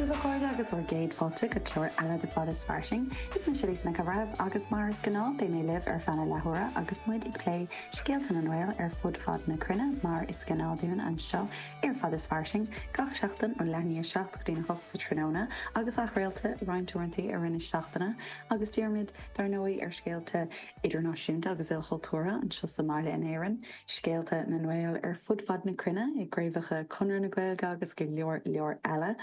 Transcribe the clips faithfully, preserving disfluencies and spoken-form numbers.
Daoibh a chairde agus bhur gcéad fáilte go clár eile de Fad is Fairsing. Is mise Lisa Nic an Bhreithimh agus mar is gnáth beidh mé libh ar feadh na leathuaire agus muid ag plé scéalta na nGael ar fud fad na cruinne mar is gnáth dúinn anseo ar Fad is Fairsing gach seachtain ó leath i ndiaidh a seacht go dtí a hocht sa tráthnóna agus athchraolta roinnt uaireanta i rith na seachtaine agus dírímid dar ndóigh ar scéalta idirnáisiúnta agus ilchultúrtha anseo sa mbaile in Éirinn, scéalta na nGael ar fud fad na cruinne i gcraobhacha Chonradh na Gaeilge agus go leor leor eile.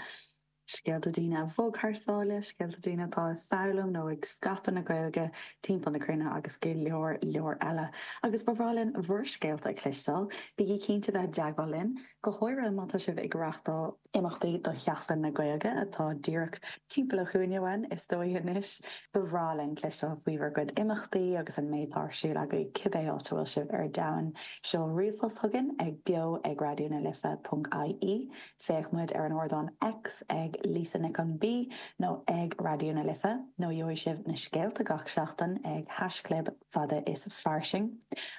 Scéalta daoine a bhog thar sáile, scéalta daoine atá ag foghlaim nó ag scaipeadh na Gaeilge timpeall na cruinne agus go leor leor eile. Agus ba bhreá linn bhur scéalta a chloisteáil, bígí cinnte bheith i dteagmháil linn, go háirithe má tá sibh ag reáchtáil imeachtaí do Sheachtain na Gaeilge atá díreach timpeall an chúinne uainn is dóigh anois. Ba bhreá linn cloisteáil faoi bhur gcuid imeachtaí agus an méid atá ar siúl agaibh cibé áit a bhfuil sibh ar domhan. Seol ríomhphost chugainn ag beo ag raidió na life ponc ie. Féach muid ar an ardán X ag Lisa Nic an B nó ag Raidió na Life nó gheobhaidh sibh na scéalta gach seachtain ag haischlib fada is fairsing.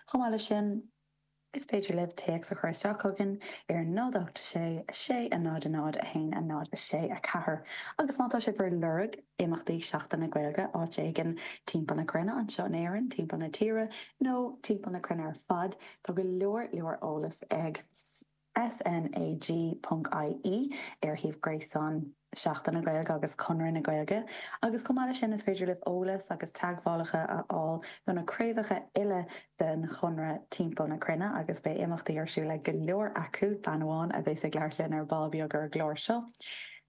Chomh maith leis sin, is féidir libh téacs a chur isteach chugainn ar náid ocht sé sé a náid a náid a haon a náid a sé a ceathair. Agus má tá sibh ar lorg imeachtaí Seachtain na Gaeilge áit éigin timpeall na cruinne anseo in Éirinn, timpeall na tíre nó timpeall na cruinne ar fad, tá go leor leor eolas ag SNAG ponc IE ar shuíomh gréasáin Seachtain na Gaeilge agus Conradh na Gaeilge. Agus chomh maith leis sin is féidir libh eolas agus teagmhálacha a fháil do na craobhacha uile den Chonradh timpeall na cruinne agus beidh imeachtaí ar siúl ag go leor acu, bean amháin a bheas ag labhairt linn ar ball beag ar an gclár seo.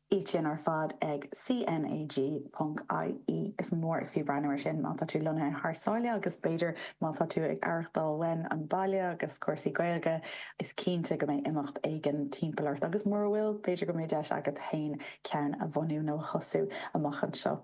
Iad sin ar fad ag CNAG ponc IE. Is mór is fiú breathnú air sin má tá tú lonnaithe thar sáile agus b'fhéidir má tá tú ag aireachtáil uainn an baile agus cúrsaí Gaeilge, is cinnte go mbeidh imeacht éigin timpeall ort agus mura bhfuil, b'fhéidir go mbeidh deis agat féin ceann a bhunú nó a thosú amach anseo.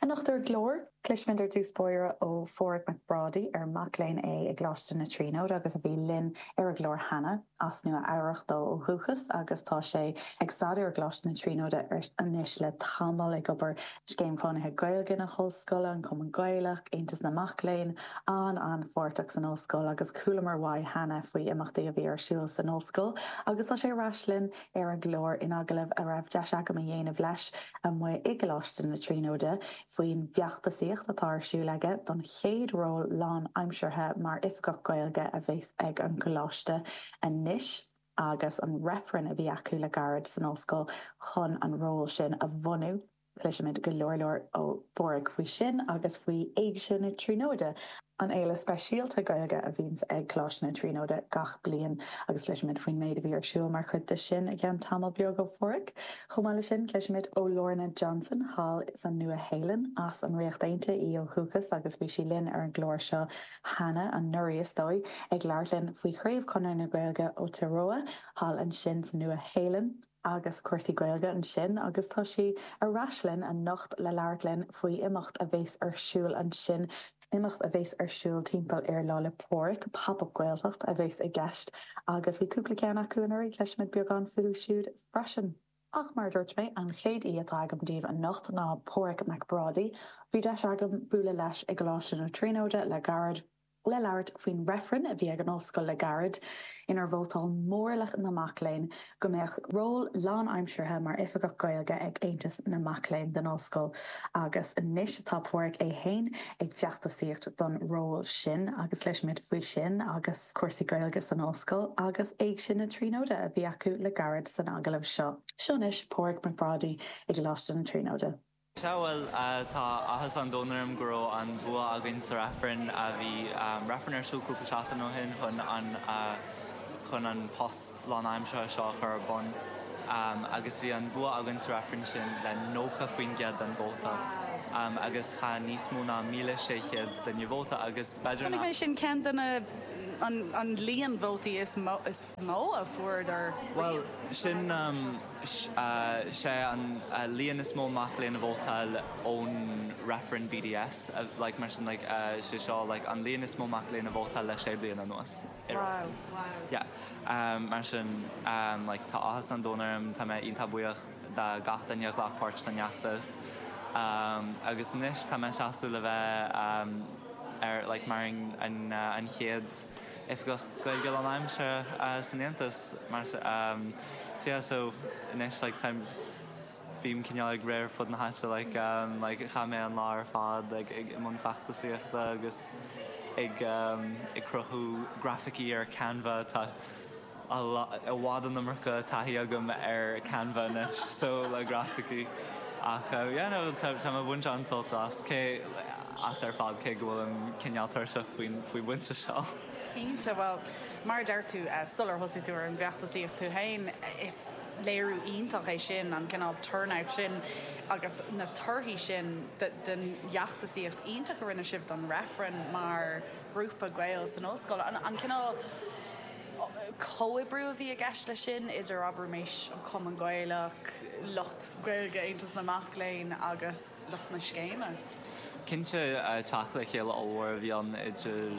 Anocht ar an gclár, cloisfimid ar dtús báire ó Pháraic Mac Brádaigh, ar mac léinn é i gColáiste na Tríonóide agus a bhí linn ar an gclár cheana, as Nua Eabhrac dó ó dhúchas agus tá sé ag staidéar i gColáiste na Tríonóide anois le tamall, ag obair Scéim Chónaithe Gaeilge na hOllscoile, an Cumann Gaelach, Aontas na Mac Léinn, an-an-pháirteach san ollscoil agus chualamar uaidh cheana faoi imeachtaí a bhí ar siúl san ollscoil agus tá sé ar ais linn ar an gclár in agallamh a raibh deis agam a dhéanamh leis amuigh i gColáiste na Tríonóide faoin bhfeachtasaíocht atá ar siúl aige don chéad ról lánaimseartha mar Oifigeach Gaeilge a bheas ag an gcoláiste anois agus an reifreann a bhí acu le gairid san ollscoil chun an ról sin a bhunú. Cloisfimid go leor leor ó Pháraic faoi sin agus faoi Éigse na Tríonóide, an fhéile speisialta Gaeilge a bhíonns ag Coláiste na Tríonóide gach bliain agus cloisfimid faoin méid a bhí ar siúl mar chuid de sin i gceann tamall beag ó Pháraic. Chomh maith leis sin, cloisfimid ó Lorna Johnson thall sa Nua-Shéalainn, as an Ríocht Aontaithe í ó dhúchas agus bhí sí linn ar an gclár seo cheana, anuraidh is dóigh, ag labhairt linn faoi Chraobh Chonradh na Gaeilge Aotearoa thall ansin sa Nua-Shéalainn. agus cúrsaí Gaeilge ansin agus tá sí ar ais linn anocht le labhairt linn faoi imeacht a bheas ar siúl ansin, imeacht a bheas ar siúl timpeall ar Lá 'le Pádraig, Pop Up Gaeltacht a bheas i gceist agus bhí cúpla ceann acu anuraidh, cloisfimid beagán fúthu siúd freisin. Ach mar a dúirt mé, an chéad aoi atá agam daoibh anocht ná Páraic Mac Brádaigh. Bhí deis agam bualadh leis i gColáiste na Tríonóide le gairid. le labhairt faoin reifreann a bhí ag an ollscoil le gairid, inar vótáil mórlach na mac léinn go mbeadh ról lánaimseartha mar Oifigeach Gaeilge ag Aontas na Mac Léinn den ollscoil agus anois tá Páraic é féin ag feachtasaíocht don ról sin agus cloisfimid faoi sin agus cúrsaí Gaeilge san ollscoil agus Éigse na Tríonóide a bhí acu le gairid san agallamh seo. Seo anois Páraic Mac Brádaigh i gColáiste na Tríonóide. Sea, bhuel, tá áthas an domhain orm go raibh an bua againn sa reifreann. Bhí reifreann ar siúl cúpla seachtain ó shin chun an chun an post lánaimseartha seo a chur ar bun agus bhí an bua againn sa reifreann sin le nócha faoin gcéad den vóta agus chaith níos mó ná míle sé chéad duine vóta agus b'fhéidir Chonaic nach mé sin ceann de na an an líon vótaí is mó is mó a fuaireadar Bhuel, riamh. sin sé an líon is mó mac léinn a vótáil ón reifreann BDS like mar sin like sé seo like an líon is mó mac léinn a vótáil le sé bliana anuas i Wow. reifreann. Yeah. Mar sin like tá áthas an domhain orm, tá mé iontach buíoch de gach duine a ghlac páirt san fheachtas agus anois tá mé seasamh le bheith ar like mar an an chéad Oifigeach Gaeilge lánaimseartha san Aontas mar so yeah so anois like táim Bím cineál ag rith ar fud na háite like, um, like, chaith mé an lá ar fad like, ag i mbun feachtasaíochta agus ag, um, ag cruthú grafaicí ar Canva tá i bhfad an iomarca taithí agam ar Canva anois so le grafaicí. Ach uh, yeah, no, tá tá mé ag baint an-sult as cé as ar fad cé go bhfuil cineál tuirseach faoin faoi bhainte seo. Cinnte well mar deir tú uh, sular thosaigh tú ar an bhfeachtasaíocht tú féin is léiriú iontach é sin an cineál turnout sin agus na torthaí sin den fheachtasaíocht iontach a rinne sibh don reifreann mar grúpa Gael san ollscoil an, an cineál comhoibriú a bhí i gceist le sin idir abraimis an Cumann Gaelach, lucht Gaeilge Aontas na Mac Léinn agus lucht na scéime. Cinnte teacht le chéile ollmhór a bhí ann idir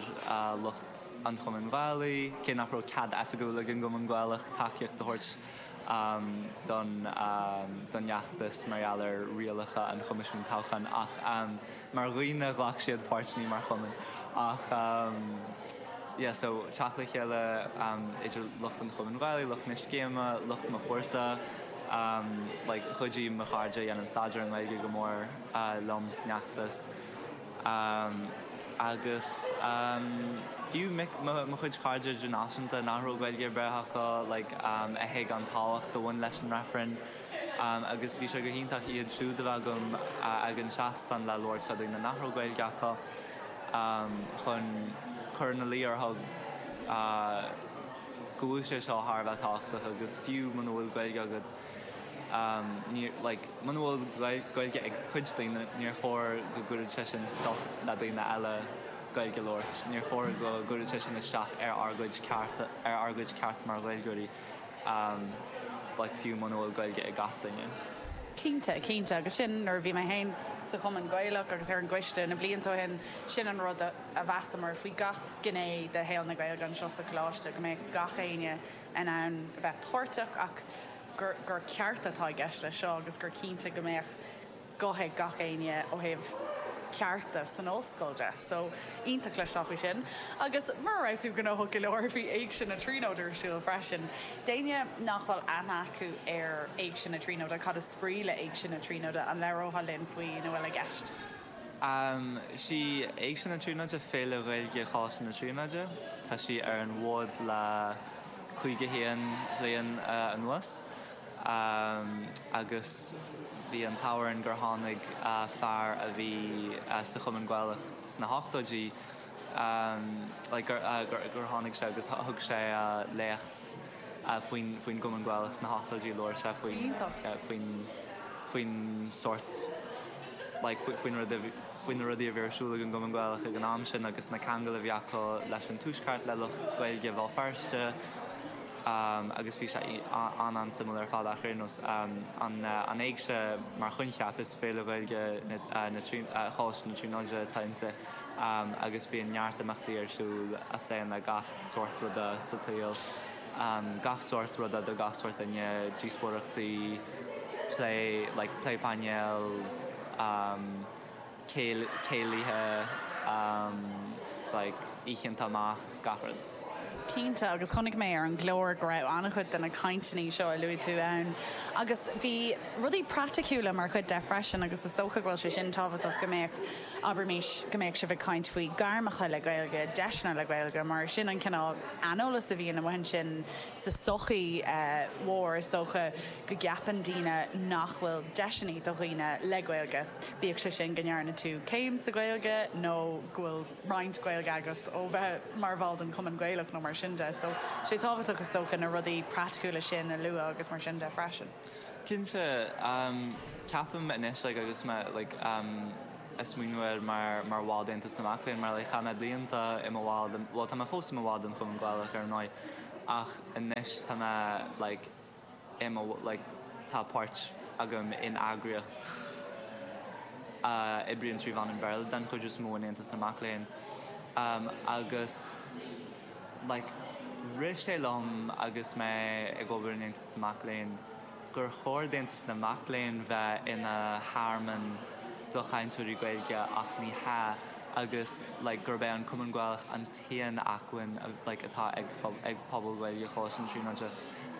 lucht an Chumainn Ghaelaigh, cé nach raibh cead oifigiúil ag an gCumann Gaelach tacaíocht a thabhairt um, don um, don fheachtas mar gheall ar rialacha an Choimisiúin Toghcháin ach um, mar dhaoine ghlac siad páirt ní mar chumann ach um, yeah, so teacht le chéile um, idir lucht an Chumainn Ghaelaigh, lucht na scéime, lucht mo chúrsa, um, like, chuidigh mo chairde a dhéanann staidéar an Ghaeilge go mór uh, liom san fheachtas. Um, agus um, fiú mo chuid cairde idirnáisiúnta nach raibh Gaeilge ar bith acu like, um, a thuig an tábhacht a bhain leis an reifreann. Um, agus bhí sé go hiontach iad siúd a bheith agam uh, ag an seastán le labhairt le daoine nach raibh Gaeilge acu um, chun cur ina luí orthu uh, go bhfuil sé seo thar a bheith tábhachtach agus fiú muna bhfuil Gaeilge agat um, ní, like, muna bhfuil Gaeilge ag cuid daoine níor chóir go gcuirfeadh sé sin stop le daoine eile Gaeilge a labhairt. Níor chóir go gcuirfeadh sé sin isteach ar ár gcuid ceart ar ár gcuid ceart mar Ghaeilgeoirí um, like, fiú muna bhfuil Gaeilge ag gach duine. Cinnte cinnte agus sin nuair bhí mé féin sa Chumann Gaelach agus ar an gcoiste na blianta ó shin sin an rud a mheasamar faoi gach gné de shaol na Gaeilge anseo sa choláiste go mbeidh gach éinne in ann bheith páirteach ach gur, gur ceart atá i gceist le seo agus gur cinnte go mbeadh guth ag gach éinne ó thaobh cearta san ollscoil de, so iontach le faoi sin. Agus mar raibh tú gnóthach go leor bhí Éigse na Tríonóide ar siúl freisin. D'éinne nach bhfuil aithne acu ar Éigse na Tríonóide cad is brí le Éigse na Tríonóide an labhrófá linn faoina bhfuil i gceist. Um, sí Éigse na Tríonóide féile Ghaeilge Choláiste na Tríonóide, Tá sí ar an bhfód le caoga haon bhliain uh, anuas. Um, agus bhí an t-ádh gur tháinig uh, fear a bhí uh, sa Chumann Gaelach sna hochtóidí um, like, gur, uh, gur, gur tháinig sé agus thug sé uh, léacht uh, faoin faoin gCumann Gaelach sna hochtóidí labhair sé faoin uh, faoin faoin sort like, faoin faoin na rudaí a bhí ar siúl ag an gCumann Gaelach ag an am sin agus na ceangail a bhí acu leis an Tuaisceart le lucht Gaeilge Bhéal Feirste. Um, agus bhí sé an an-suimiúil ar fad ach nós um, an, uh, an éigse mar choincheap is féile Ghaeilge Choláiste na Tríonóide atá inti um, agus bíonn neart imeachtaí ar siúl a phléann le gach sórt ruda sa tsaol um, gach sórt ruda do gach sórt duine díospóireachtaí plé like, plé painéil um, céilithe um, like, oícheanta amach gach rud. Cinnte agus chonaic mé ar an gclár go raibh an-chuid de na cainteanna seo a luaigh tú ann. Agus bhí rudaí praiticiúla mar chuid de freisin agus is dócha bhfuil sé sin tábhachtach go mbeadh abraimis go mbeadh sibh ag caint faoi gairmeacha le Gaeilge, deiseanna le Gaeilge, mar sin an cineál aineolas a bhíonn amuigh ansin sa sochaí mhór is dócha go gceapann daoine nach bhfuil deiseanna do dhaoine le Gaeilge. Bíodh sé sin go ndearna tú céim sa Ghaeilge nó go bhfuil roinnt Gaeilge agat ó bheith mar bhall den Chumann Gaelach nó mar sin de, so sé tábhachtach is dócha na rudaí praiticiúla sin a lua agus mar sin de freisin. Cinnte um, ceapaim anois like, agus me like, um, ag smaoineamh air mar mar bhall d'Aontas na Mac Léinn mar like, chaith mé blianta i mo bhall well tá mé fós i mo bhall den Chumann Gaelach ar ndóigh ach anois tá mé like, i mo like, tá páirt agam in eagraíocht uh, oibríonn trí mheán an Bhéarla den chuid is mó in Aontas na Mac Léinn um, agus like, rith sé liom agus mé ag obair in Aontas na Mac Léinn gur chóir d'Aontas na Mac Léinn bheith ina thearmann do chainteoirí Gaeilge ach ní hea agus like, gurb é an Cumann Gaelach an t-aon acmhainn like, atá ag, ag pobal Gaeilge Choláiste na Tríonóide.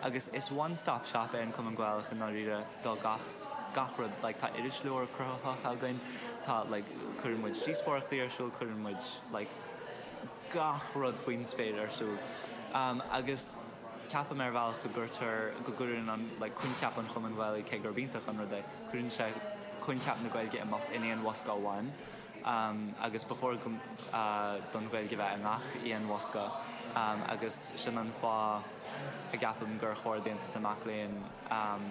Agus is one stop shop é an Cumann Gaelach i ndáiríre do gach gach rud like tá irisleabhar cruthaitheach againn tá like cuireann muid díospóireachtaí ar siúl cuireann muid like gach rud faoin spéir ar siúl. Um, agus ceapaim ar bhealach go gcuirtear go gcuireann an like coincheap an Chumainn Ghaelaigh cé gurb iontach an rud é cuireann sé coincheap na Gaeilge i mbos in aon bhosca amháin. Um, agus ba chóir go, uh, don Ghaeilge bheith i ngach aon bhosca um, agus sin an fáth a gceapaim gur chóir d'Aontas na Mac Léinn um,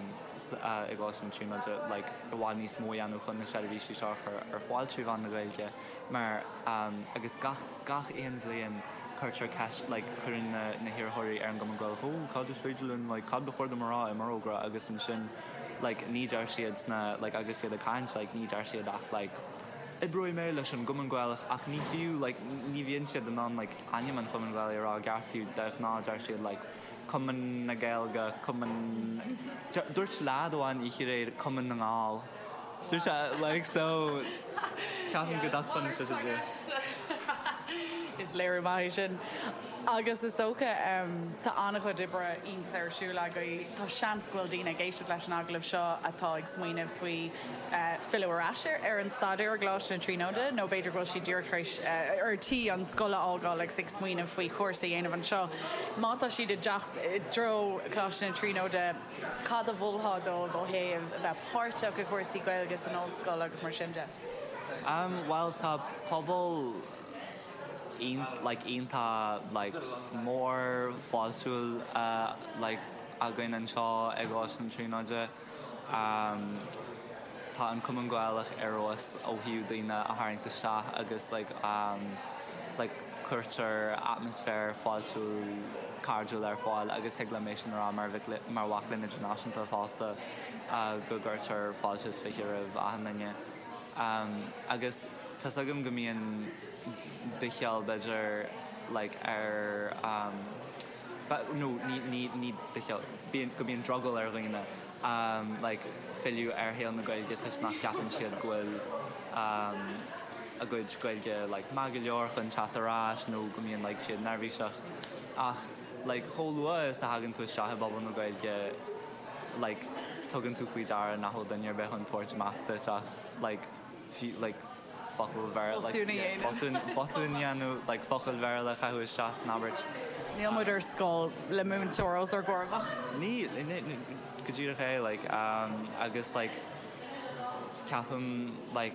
uh, i gColáiste na Tríonóide like, i bhfad níos mó a dhéanamh chun na seirbhísí seo a chur ar fáil trí mheán na Gaeilge mar um, agus gach, gach aon bhliain cuirtear ceist like, cuireann na, na hiarrthóirí ar an gCumann Gaelach ó cad is féidir linn like, cad ba chóir dom a rá i m'fhorógra agus ansin like, ní deir siad sna like, agus siad ag caint like, ní deir siad ach like, Oibreoidh mé leis an gCumann Gaelach ach ní fiú like, ní bhíonn siad in ann like, ainm an Chumainn Ghaelaigh a rá i gceart fiú de ghnáth deir siad like, Cumann na Gaeilge, Cumann Dúirt leaid amháin oíche aréir Cumann na nGall. Dúirt sé like so ceapaim go dtaispeánann sé sin Is léiriú maith é sin. Agus is dócha tá an-chuid oibre iontach ar siúl agaibh. Tá seans go bhfuil daoine ag éisteacht leis an agallamh seo atá ag smaoineamh faoi filleadh ar ais ar an staidéar i gColáiste na Tríonóide nó b'fhéidir go bhfuil siad díreach tar éis ar tí an scoil a fhágáil agus ag smaoineamh faoi chúrsa a dhéanamh anseo. Má tá siad ag teacht i dtreo Coláiste na Tríonóide, cad a mholfá dóibh ó thaobh a bheith páirteach i gcúrsaí Gaeilge san ollscoil agus mar sin de? Um, well tá pobal like iontach like mór fáiltiúil uh, like againn anseo ag Coláiste na Tríonóide. Um, tá an Cumann Gaelach ar fheabhas ó thaobh daoine a tharraingt isteach agus like, um, like, cuirtear atmaisféar fáiltiúil cairdiúil ar fáil agus thig liom é sin a rá mar mar mhac léinn idirnáisiúnta fosta uh, go gcuirtear fáilte is fiche roimh achan duine. Um, agus Tá a fhios agam go mbíonn doicheall b'fhéidir like ar um, nó ní ní ní doicheall bíonn go mbíonn drogall ar dhaoine um, like filleadh ar shaol na Gaeilge toisc nach gceapann siad go bhfuil um, a gcuid Gaeilge like maith go leor chun teacht ar ais nó go mbíonn like siad neirbhíseach ach like chomh luath is a thagann tú isteach i bpobal na Gaeilge like tugann tú faoi deara nach bhfuil duine ar bith chun tabhairt amach duit as like fiú like focal Bhéarla botún a dhéanamh like focal Béarla a chaitheamh isteach san abairt. Níl muid ar scoil le múinteoir os ár gcomhair amach. Ní go díreach é like um, agus like ceapaim like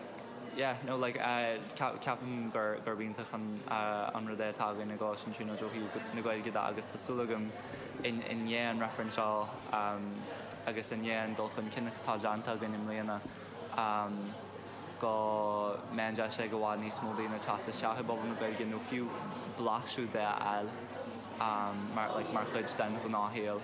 yeah no like uh, ceapaim gur gur iontach an uh, an rud é atá againn i gColáiste na Tríonóide ó thaobh na Gaeilge de agus tá súil agam in i ndiaidh an reifreann seo um, agus i ndiaidh an dul chun cinn atá déanta againn i mbliana um, go mbeidh an deis ag i bhfad níos mó daoine teacht isteach i bpobal na Gaeilge nó fiú blaiseadh de a fháil um, mar, like, mar chuid den ghnáthshaol.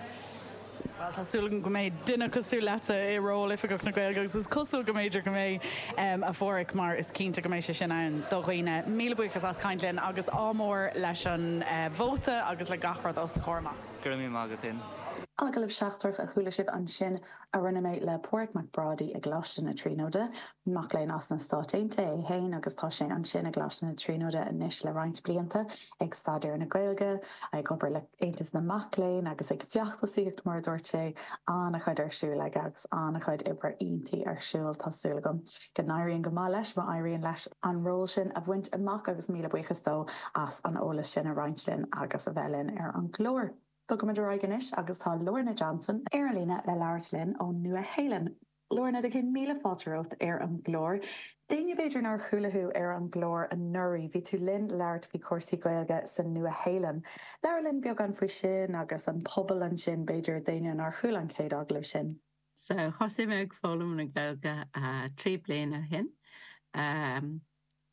Well tá súil agam go mbeidh duine cosúil leatsa i ról Oifigeach na Gaeilge agus is cosúil go mb'fhéidir go mbeidh um, a Pháraic mar is cinnte go mbeidh sé sin ann do dhaoine. Míle buíochas as caint linn agus ádh mór leis an uh, vóta agus le gach rud os do chomhair amach. Go raibh míle maith agat féin. Agallamh seachtrach a chuala sibh ansin a rinne mé le Páraic Mac Brádaigh i gColáiste na Tríonóide, mac léinn as na Stáit Aontaithe é féin agus tá sé ansin i gColáiste na Tríonóide anois le roinnt blianta ag staidéar na Gaeilge, ag obair le Aontas na Mac Léinn agus ag feachtasaíocht mar a dúirt sé an-chuid ar siúl aige agus an-chuid oibre iontaí ar siúl tá súil agam go n-éiríonn go maith leis má éiríonn leis an ról sin a bhaint amach agus míle buíochas dó as an eolas sin a roinnt linn agus a bheith linn ar an gclár. Bogaimid ar aghaidh anois agus tá Lorna Johnson ar an líne le labhairt linn ón Nua-Shéalainn. Lorna do chéad míle fáilte romhat ar an gclár. D'éinne b'fhéidir nár chuala thú ar an gclár anuraidh, bhí tú linn labhairt faoi chúrsaí Gaeilge sa Nua-Shéalainn. Labhair linn beagán faoi sin agus an pobal ansin b'fhéidir d'éinne nár chuala an chéad agallamh sin. So thosaigh mé ag foghlaim na Gaeilge uh, trí bliana ó shin. Um,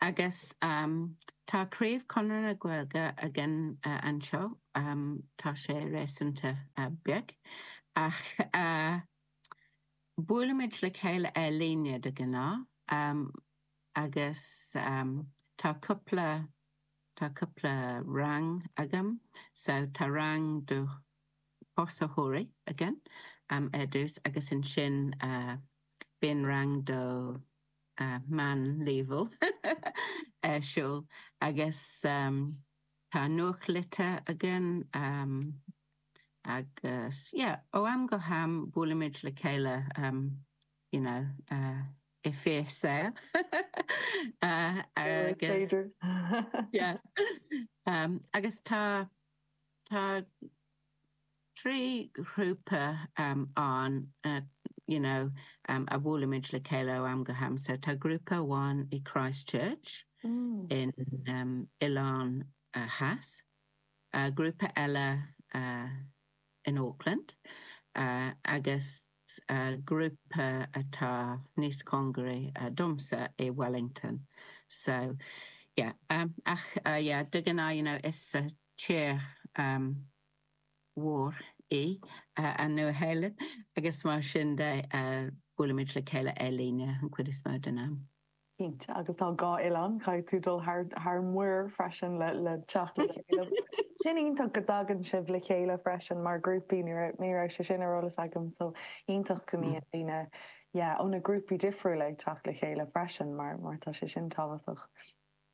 agus um, tá craobh Chonradh na Gaeilge againn uh, anseo um, tá sé réasúnta uh, beag ach uh, buailimid le chéile ar líne de ghnáth um, agus um, tá cúpla tá cúpla rang agam so tá rang do thosaitheoirí againn um, ar dtús agus ansin uh, bíonn rang do uh, meánleibhéal ar siúl agus um, tá nuachtlitir againn um, Agus yeah, ó am go ham buailimid le chéile um, you know, uh, i fíorshaol. uh, agus, yeah. um, agus tá tá trí ghrúpa um, ann uh, you know, um, a bhuailimid le chéile ó am go ham. So tá grúpa amháin i Christchurch mm. in um, Oileán uh, Theas, uh, grúpa eile uh, in Auckland, uh, agus uh, grúpa atá níos cóngaraí uh, domsa i Wellington. So yeah, um, ach uh, yeah, de ghnáth, you know, is uh, tír um, mhór í uh, an Nua-Shéalainn agus mar sin de uh, buailimid le chéile ar líne an chuid is mó den am. Cinnte agus tá dhá oileán caithfidh tú dul thar thar muir freisin le le teacht le chéile. Sin iontach go dtagann sibh le chéile freisin mar grúpaí ní ní raibh sé sin ar eolas agam so iontach go mbíonn daoine yeah, ó na grúpaí difriúla ag teacht le chéile freisin mar mar tá sé sin tábhachtach.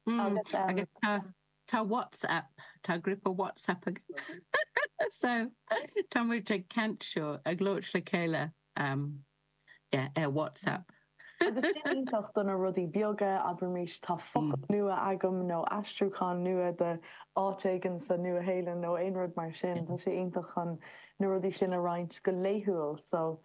Mm, Agus um, agus tá tá WhatsApp tá grúpa WhatsApp ag so tá muid ag caint seo ag labhairt le chéile um, yeah, ar WhatsApp. Agus sin iontach do na rudaí beaga abraimis tá focal nua agam nó aistriúchán nua de áit éigin sa Nua-Shéalainn nó aon rud mar sin Tá sé iontach chun na rudaí sin a roinnt go laethúil so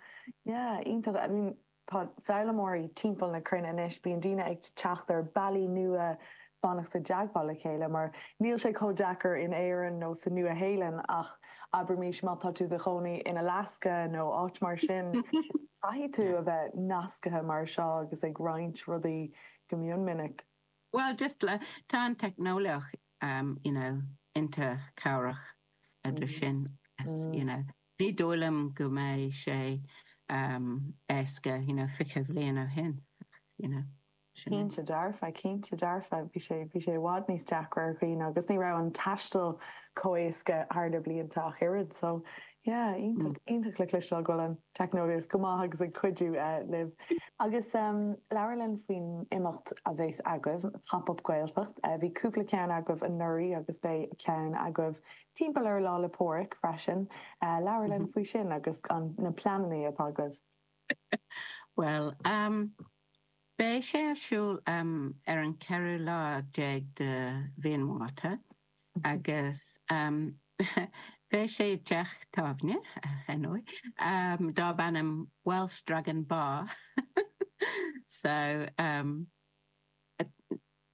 yeah, iontach I mean, tá foghlaimeoirí timpeall na cruinne anois bíonn daoine ag teacht ar bealaí nua fanacht i dteagmháil le chéile mar níl sé chomh deacair in Éirinn nó sa Nua-Shéalainn ach abraimis má tá tú i do chónaí in Alaska nó áit mar sin caithfidh tú a bheith nasctha mar seo agus ag roinnt rudaí go mion minic. Well, just le tá an teicneolaíocht um, you know, iontach cabhrach mm. sin as, mm. you know, ní dóigh liom go mbeidh sé um, éasca you know, fiche bliain ó shin you know. Cinnte dearfa cinnte dearfa bhí sé bhí sé i bhfad níos deacra ar dhaoine agus ní raibh an taisteal chomh héasca thar na blianta ach oiread so yeah, iontach iontach le cloisteáil go bhfuil an teicneolaíocht go maith agus ag cuidiú uh, libh. Agus um, labhair linn faoin imeacht a bheas agaibh Pop-up Gaeltacht, uh, bhí cúpla ceann agaibh anuraidh agus beidh ceann agaibh timpeall ar Lá 'le Pádraig freisin uh, labhair linn mm -hmm. faoi sin agus an na pleananna atá agaibh. Well, um, Beidh sé ar siúl um, ar an ceathrú lá déag de mhí an Mhárta agus um, beidh sé i dteach tábhairne anyway, um, darb ainm Welsh Dragon Bar. so um,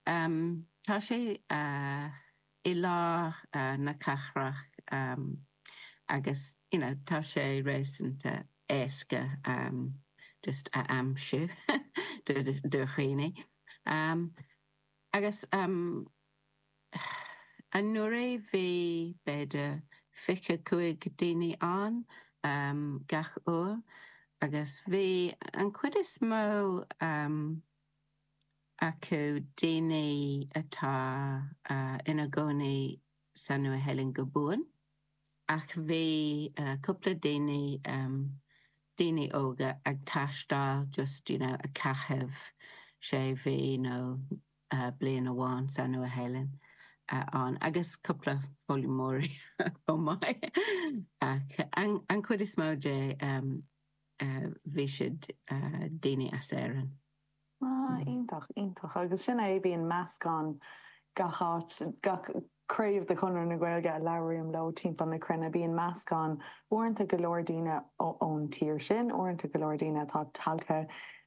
um, tá sé uh, i lár uh, na cathrach um, agus you know, tá sé réasúnta éasca um, just a aimsiú do do dhaoine. Um, agus um, anuraidh bhí b'fhéidir fiche cúig daoine ann um, gach uair agus bhí an chuid is mó um, acu daoine atá uh, ina gcónaí sa Nua-Shéalainn go buan ach bhí uh, cúpla daoine um, daoine óga ag taisteal just you know, ag caitheamh sé mhí nó uh, bliain amháin sa Nua-Shéalainn uh, ann agus cúpla foghlaimeoirí chomh maith ach an, an chuid is mó de um, uh, bhí siad uh, daoine as Éirinn. Ah, iontach iontach agus sin é bíonn meascán gach áit gach craobh de Chonradh na Gaeilge a labhraím leo timpeall na cruinne bíonn meascán uaireanta go leor daoine ón tír sin, uaireanta go leor daoine atá tagtha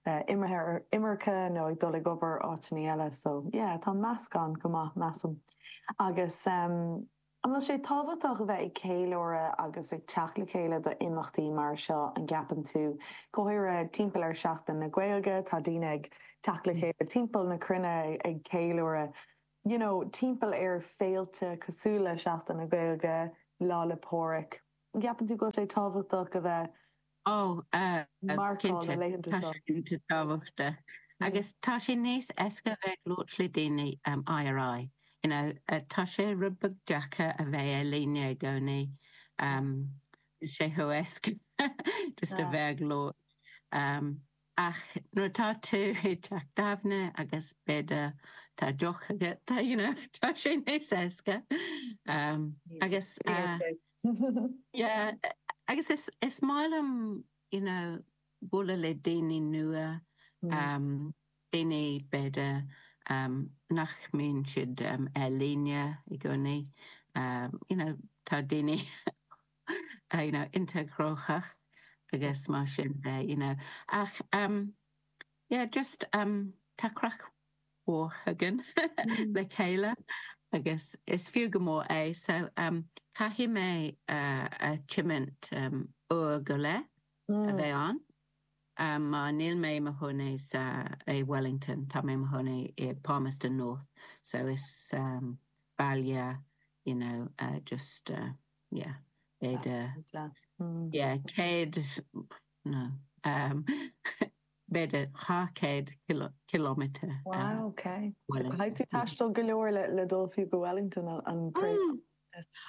uh, imithe imirce nó ag dul ag obair áiteanna eile, so yeah, tá meascán go maith measaim. Agus um, An bhfuil sé tábhachtach a bheith ag ceiliúradh agus ag teacht le chéile do imeachtaí mar seo an gceapann tú go háirithe timpeall ar Seachtain na Gaeilge tá daoine ag teacht le chéile timpeall na cruinne ag ceiliúradh you know, timpeall ar féilte cosúil le Seachtain na Gaeilge Lá 'le Pádraig. Ceapann tú go sé tábhachtach a bheith Oh, uh, marcáil na laethanta seo. tábhachtach. Agus tá sé níos éasca bheith labhairt le daoine um, IRI. You know, uh, tá sé rud beag deacair a bheith ar líne i gcónaí um, sé chomh héasca just a Yeah. bheith labhairt. Um, ach nuair tá tú i teach tábhairne agus b'fhéidir tá deoch agat you know, tá sé níos éasca. Um, agus uh, Yeah, agus is is maith liom you know, bualadh le daoine nua, Mm. um, daoine b'fhéidir um, nach mbíonn siad um, ar líne i gcónaí. Um, you know, tá daoine uh, you know, iontach gnóthach agus mar sin de, you know. Ach um, yeah, just um, tá craic mhór againn Mm. le chéile agus is fiú go mór é so um, caithfidh mé uh, a tiomáint um, uair go leith a Mm. bheith ann. Um, mar níl mé i mo chónaí sa i Wellington, tá mé i mo chónaí i Palmerston North, so is um, baile you know, uh, just uh, yeah, b'fhéidir Mm. yeah, céad no um, b'fhéidir dhá chéad kilo, kilometer. Wow, okay. So Wellington. caithfidh tú taisteal go leor le le dul fiú go Wellington an an craobh. Mm.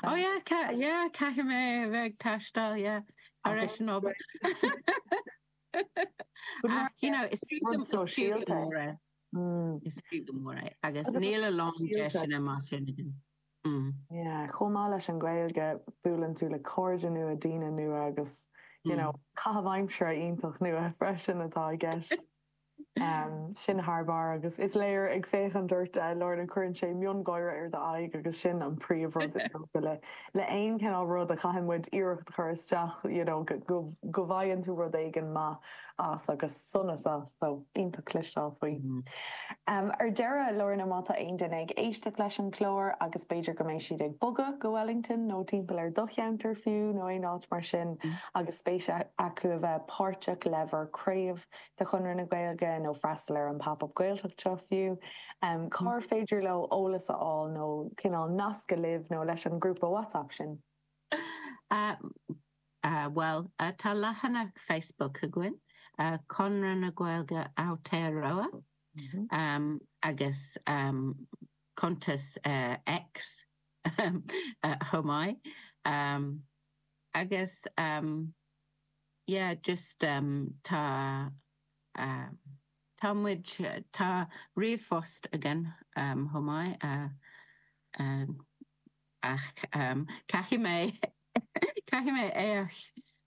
Oh yeah, ca yeah, caithfidh mé a bheith ag taisteal, yeah. Ar Agus- éis an obair. But Ach, you know, is fiú rud go- is fiú go sóisialta. mór é. Mm. Is fiú go mór é. Agus Agus níl a lán sóisialta. deiseanna mar sin againn. Mm. Yeah, chomh maith leis an Ghaeilge buaileann tú le cairde nua daoine nua agus you Mm. know, caitheamh aimsire iontach nua freisin atá i gceist. Um, sin thar barr agus is léir ag féachaint ort uh, Lorna cuireann sé miongháire ar d'aghaidh agus sin an príomhrud is dócha le le aon cineál rud a chaithfidh muid iarracht chur isteach you know, go, go, go bhfaigheann tú rud éigin maith as agus sonas as so iontach cloisteáil faoi. Mm. Um, ar deireadh Lorna má tá aon duine ag éisteacht leis an chlár agus b'fhéidir go mbeidh siad ag bogadh go Wellington nó timpeall ar do cheantar fiú nó aon áit mar sin Mm. agus spéis acu a bheith páirteach le bhur craobh de Chonradh na Gaeilge nó freastal ar an pop-up Gaeltacht seo fiú. Um, Cár féidir leo eolas a fháil nó cineál nascadh libh nó leis an grúpa WhatsApp sin. Uh, uh, well, uh, tá leathanach Facebook againn, uh, Conradh na Gaeilge Aotearoa, um, agus um, cuntas uh, X um, uh, chomh maith. Um, agus um, yeah, just um, tá um, tá muid tá ríomhphost againn um, chomh maith uh, uh, ach um, caithfidh mé caithfidh mé é a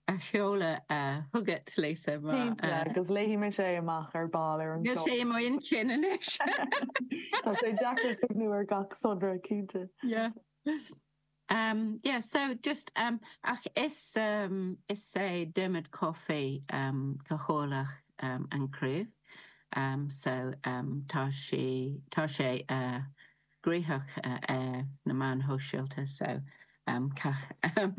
a sheoladh uh, chugat Lisa mar Cinnte, uh, agus léifidh mé sé amach ar ball ar an Níl chlár. sé mo intinn anois. Tá sé deacair cuimhneamh ar gach sonra cinnte. Yeah. Um, yeah, so just um, ach is um, is é Dermot Coffey um, cathaoirleach um, an craobh. Um, so um, tá sé tá sé uh, gnóthach uh, uh, na meáin shóisialta so um, ca um,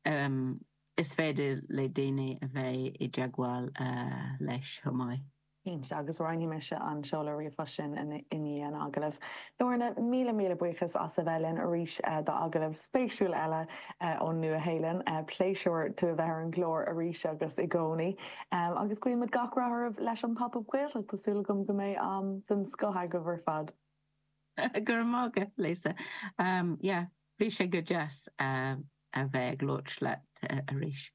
um, is féidir le daoine a bheith i dteagmháil uh, leis chomh maith. Cinnte agus roinnfidh mise an seoladh ríomhphoist sin in i ndiaidh an agallaimh. Lorna míle míle buíochas as a bheith linn arís uh, d'agallamh spéisiúil eile uh, ón Nua-Shéalainn, uh, pléisiúr tú a bheith ar an gclár arís agus i gcónaí. Um, agus guímid gach rath oraibh leis an pop-up Gaeltacht Tá súil agam go mbeidh am den scoth agaibh ar fad. Go raibh maith agat, Lisa. Um, yeah, bhí sé go deas uh, a bheith ag labhairt leat uh, arís.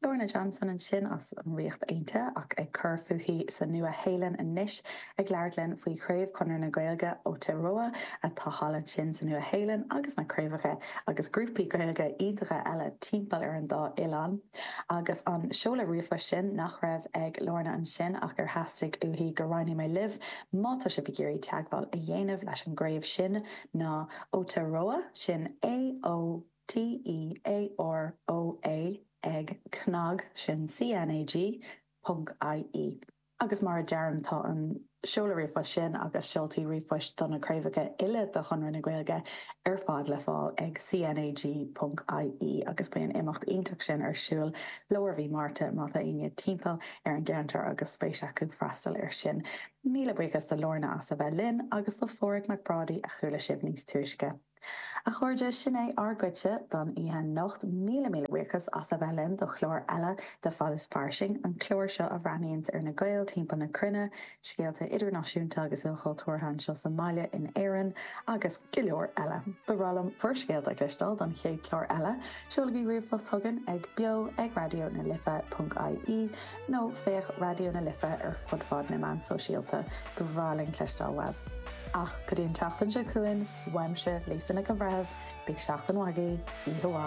Lorna Johnson ansin as an Ríocht Aontaithe ach ag cur fúithi sa Nua-Shéalainn anois ag labhairt linn faoi chraobh Chonradh na Gaeilge Aotearoa atá thall ansin sa Nua-Shéalainn agus na craobhacha agus grúpaí Gaeilge iontacha eile timpeall ar an dá oileán. Agus an seoladh ríomhphoist sin nach raibh ag Lorna ansin ach ar theastaigh uaithi go roinnfeadh mé libh má tá sibh ag iarraidh teagmháil a dhéanamh leis an gcraobh sin ná Aotearoa sin A O T E A R O A ag cnag sin CNAG ponc IE. Agus mar a deirim tá an seoladh ríomhphoist sin agus seoltaí ríomhphoist do na craobhacha uile de Chonradh na Gaeilge ar fad le fáil ag CNAG ponc IE agus beidh an imeacht iontach sin ar siúl lár mhí Márta má tá éinne timpeall ar an gceantar agus spéis acu freastal ar sin. Míle buíochas do Lorna as a bheith linn agus do Pháraic Mac Brádaigh a chuala sibh níos túisce. A chairde sin é ár gcuidse don oíche anocht míle míle buíochas as a bheith linn do chlár eile de Fad is Fairsing an clár seo a bhreathnaíonns ar na Gaeil timpeall na cruinne, scéalta idirnáisiúnta agus ilchultúrtha anseo sa mbaile in Éirinn agus go leor eile. Ba bhreá liom bhur scéalta a chloisteáil don chéad chlár eile, seolaigí ríomhphost chugainn ag beo ag raidió na life.ie nó féach Raidió na Life ar fud fad na meán sóisialta ba bhreá linn cloisteáil uaibh. Ach go dtí an tseachtain seo chugainn, uaimse Lisa Lisa Nic an Bhreithimh, bíodh seachtain mhaith agaibh, oíche mhaith.